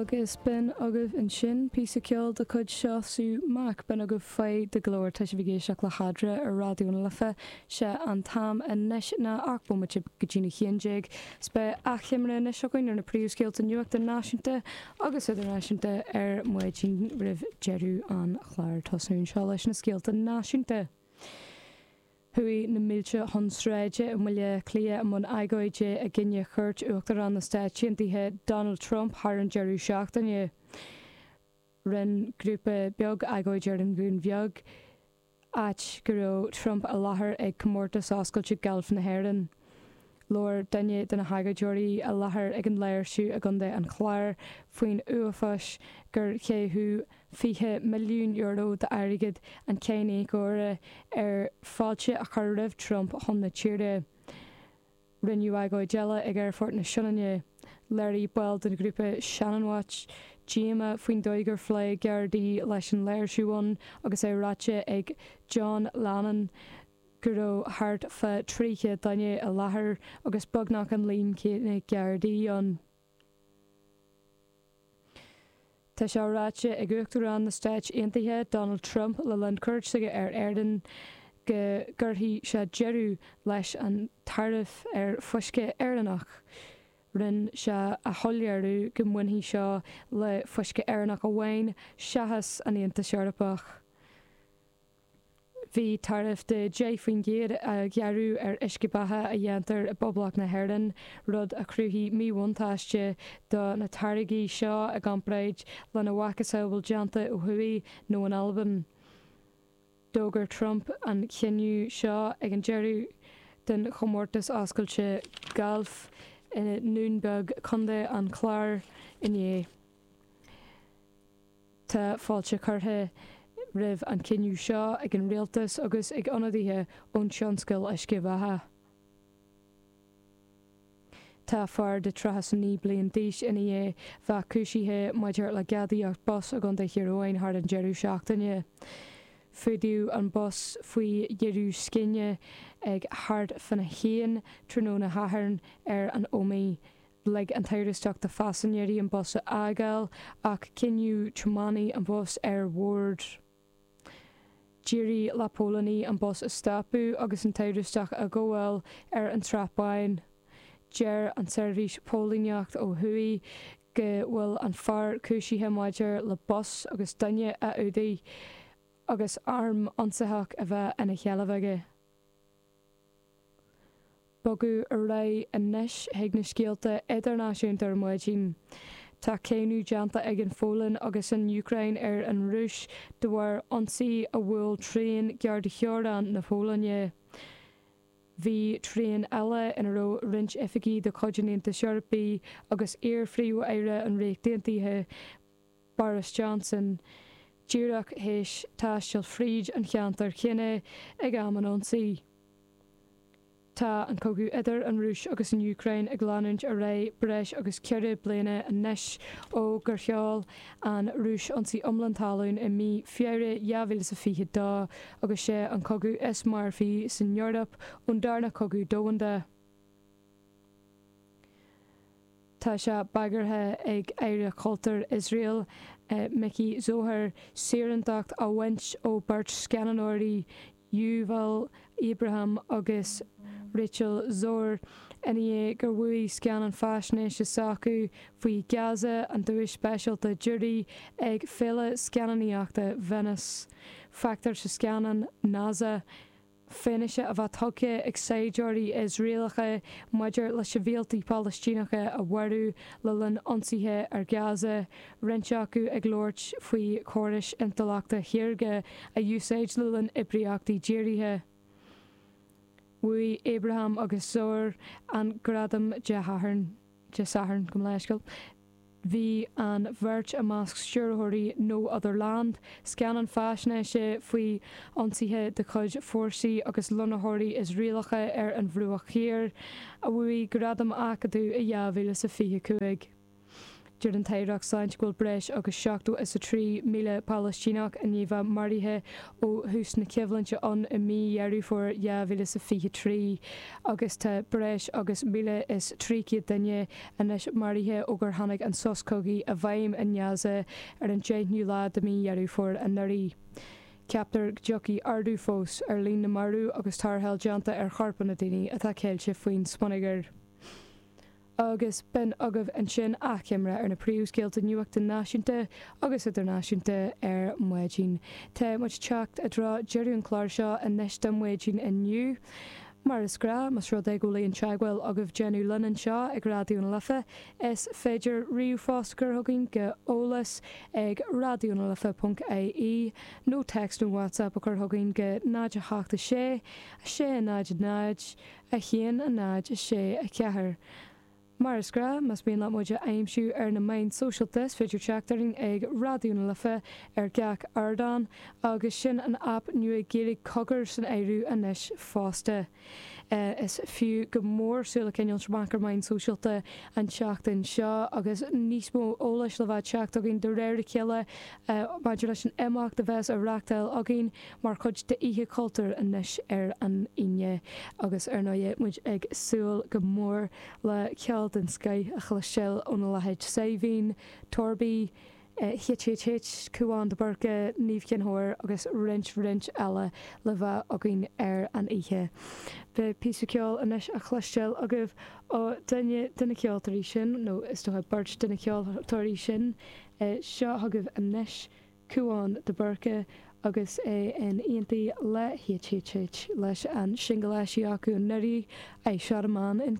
Agus b'in agaibh ansin píosa ceoil de chuid Seosamh Mac. B'in agaibh Faigh Do Ghlór. Tá sibh ag éisteacht le hEadra ar Raidió na Life. Sé an t-am anois ná 18 bomaite go dtí'n 11. 'S beidh achoimre anois againn ar na príomhscéalta nuachta náisiúnta agus idirnáisiúnta ar maidin roimh deireadh an chláir. Tosnú anseo leis na scéalta náisiúnta. Chuaigh na mílte chun sráide i mBaile Átha Cliath i mbun agóide i gcoinne chuairt Uachtarán na Stáit Aontaithe Donald Trump thar an deireadh seachtaine. Rinne grúpa beag agóid ar an Dhún Bheag, áit go raibh Trump i láthair ag Comórtas Oscailte Gailf na hÉireann. Labhair duine de na hagóideoirí i láthair ag an léirsiú i gContae an Chláir faoin uafás gur caitheadh €20 milliún d'airgead an cháiníocóra ar fáilte a chur roimh Trump chun na tíre. Rinneadh agóid eile ag Aerfort na Sionainne. Léirigh baill den ghrúpa Shannonwatch díomá faoin dóigh gur phléigh Gardaí leis an léirsiú ann agus é ráite ag John Lannon go raibh thart fá 300 duine i láthair agus beagnach an líon céanna Gardaí ann. Tá sé ráite ag Uachtarán na Stáit Aontaithe, Donald Trump, le linn cuairt s'aige ar Éirinn go gcuirfidh sé deireadh leis an taraif ar fuisce Éireannach. Rinne sé a shoiléiriú go mbainfidh seo le fuisce Éireannach amháin seachas an Aontas Eorpach. Bhí taraif de 10% á ghearradh ar uisce beatha a dhéantar i bPoblacht na hÉireann, rud a chruthaigh míbhuntáiste do na táirgí seo i gcomparáid lena mhacasamhail déanta ó thuaidh nó in Albain. D'fhógair Trump an cinneadh seo ag an deireadh den chomórtas oscailte gailf i nDún Beag, Contae an Chláir, inné. Tá fáilte curtha roimh an chinneadh seo ag an rialtas agus ag ionadaithe ón tionscal uisce bheatha. Tá fear de 39 bliain d'aois i ndiaidh bheith cúisithe maidir le gadaíocht bus i gContae Thír Eoghain thar an deireadh seachtaine. Fuadaíodh an bus faoi dheireadh scine ag thart fána haon tráthnóna Shathairn ar an Ómaigh. Lig an t-amhrastach do phaisinéirí an bus a fhágáil ach coinníodh tiománaí an bhus ar bord. D'éirigh le póilíní an bus a stopadh agus an t-amhrastach a ghabháil ar an tSrath Bán. Deir an tSeirbhís Póilíneacht ó thuaidh go bhfuil an fear cúisithe maidir le bus agus duine a fhuadaigh agus arm ionsaitheach a bheith ina sheilbh aige. Bogadh ar aghaidh anois chuig na scéalta idirnáisiúnta ar maidin. Tá cáineadh déanta ag an Pholainn agus an Úcráin ar an Rúis de bharr ionsaí a bhuail traein gar do theorainn na Polainne. Bhí traein eile ina raibh roinnt oifigigh de chuid an Aontais Eorpaigh agus iar-Phríomh-Aire an Ríocht Aontaithe, Boris Johnson, díreach théis taisteal fríd an cheantar chéanna ag am an ionsaí. Tá an cogadh idir an Rúis agus an Úcráin ag leanúint ar aghaidh breis agus 4 bliana anois ó gur sheol an Rúis ionsaí iomlán talún i mí Feabhra 2022 agus sé an cogadh is marfaí san Eoraip ón Darna Cogadh Domhanda. Tá sé bagartha ag Aire Cultúir Iosrael, Miki Zohar, saorántacht a bhaint ó beirt scannánóirí, Yuval Abraham agus Rachel Szor, i ndiaidh gur bhuaigh scannán faisnéise s'acu faoi Gaza an duais speisialta giúiré ag Féile Scannánaíochta Venice. Feictear sa scannán Naza. Fianaise a bheith tugtha ag saighdiúirí Iosraelacha maidir le sibhialtaigh Phalaistíneacha a mharú le linn ionsaithe ar Gaza, roinnt acu ag labhairt faoi chórais intleachta shaorga a úsáid le linn oibríochtaí dírithe. Bhuaigh Abraham agus Szor an gradam Dé hAthairn. Dé Sathairn, gabh mo leithscéal. Bhí an bheirt i measc stiúrthóirí No Other Land, scannán faisnéise faoi ionsaithe de chuid fórsaí agus lonnaitheoirí Iosraelacha ar an Bhruach Thiar, a bhuaigh gradam Acadamh i 2025. Deir an tAireacht Sláinte go bhfuil breis agus 73,000 Palaistíneach i ndiaidh bheith maraithe ó thús na coimhlinte ann i mí Dheireadh Fómhair 2023 agus tá breis agus 1,300 duine anois maraithe ó gur tháinig an sos cogaidh i bhfeidhm i nGaza ar an 10ú lá de mhí Dheireadh Fómhair anuraidh. Ceaptar go dtiocfaidh ardú fós ar líon na marbh agus tarrtháil déanta ar chorpanna daoine atá ceilte faoin smionagar. Agus b'in agaibh ansin achoimre ar na príomhscéalta nuachta náisiúnta agus idirnáisiúnta ar maidin. Tá muid ag teacht i dtreo deireadh an chláir seo anois do maidin inniu. Mar is gnáth, más rud é go bhfuil aon teagmháil agaibh déanamh linn anseo ag Raidió na Life, is féidir ríomhphost a chur chugainn go eolas ag raidionalife ponc ie nó téacs nó WhatsApp a chur chugainn go 0 8 6 6 0 0 1 0 6 4. Mar is gnáth, más mian leat muid a aimsiú ar na meáin sóisialta, is féidir teacht orainn ag Raidió na Life ar gach ardán, agus sin an aip nua Gaeilge Cogar san áireamh anois fosta. Is fiú go mór súil a choinneáil amach ar meáin sóisialta an tseachtain seo agus níos mó eolais le bheith ag teacht againn de réir a chéile maidir leis an imeacht a bheas á reachtáil againn mar chuid d'Oíche Chultúir anois ar an Aoine agus ar ndóigh muid ag súil go mór le ceol den scoith a chloisteáil óna leithéid Saidhbhín, Torby, HHH, Cúán de Búrca, Niamh Chinn Óir agus roinnt roinnt eile le bheith againn ar an oíche. Beidh píosa ceoil anois á chloisteáil agaibh ó duine de na ceoltóirí sin, nó is dócha beirt de na ceoltóirí sin. Seo chugaibh anois. Cúán de Búrca agus é in éindí le HHH leis an singil eisithe acu anuraidh, I Shot a Man in.